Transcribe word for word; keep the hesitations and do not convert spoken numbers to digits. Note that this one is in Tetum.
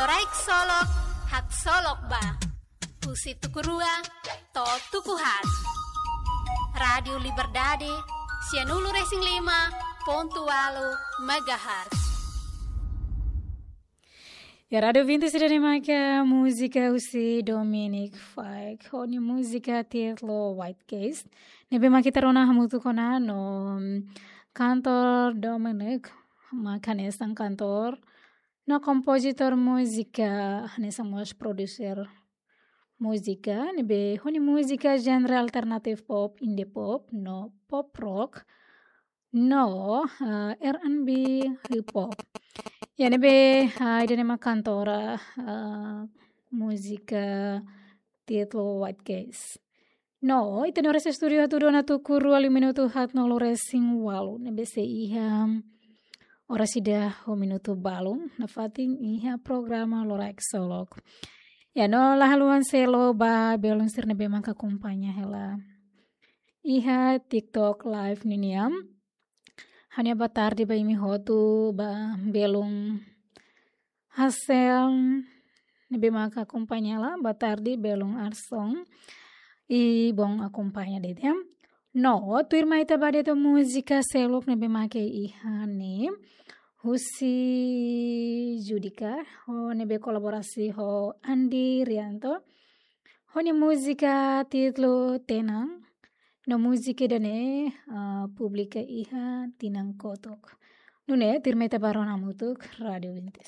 Loraik Solok, Haksolok Ba. Husi tuku rua to'o tuku haat. Rádiu Liberdade, sianulu-resin-lima pontu ualu megahertz. Ya, Rádiu Vinti sira ne'e maka múzika husi Dominic Fike. Ho nia múzika títulu White Case. Ne'ebé maka ita rona hamutuk ona no, mm, kantór Dominic, maka hanesan kantór no kompozitór múzika, hanesan mós produser múzika, ne'ebé ho nia múzika genre alternative pop, indie pop, no pop rock, no, ah, R and B, hip hop. Ya, ne'ebé, ah, ida-ne'e mak kantór, ah, múzika títulu White Case. No, ita-nia oras estúdiu hatudu ona tuku rua liu minutu haatnulu-resin-ualu, ne'ebé sei iha oras ida ho minutu balu nafatin iha programa Loraik Solok. Ya, no la haluha selu ba belun sira ne'ebé maka akompaña hela iha TikTok live ninian. Ha'u-nia boa tarde ba imi hotu, ba belun Hassel, ne'ebé maka akompaña hela, boa tarde, belun Arson. I bom akompaña de'it. No, tuirmai ita ba de'it múzika seluk ne'ebé maka iha ne'e. Husi Judika, ho ne'ebé kolaborasi ho Andi Rianto. Ho nia múzika títulu Tenang. No múzika ida-ne'e, ah, publika iha tinan kotuk. Nune'e, tuirmai ita ba rona hamutuk Rádiu Vinti.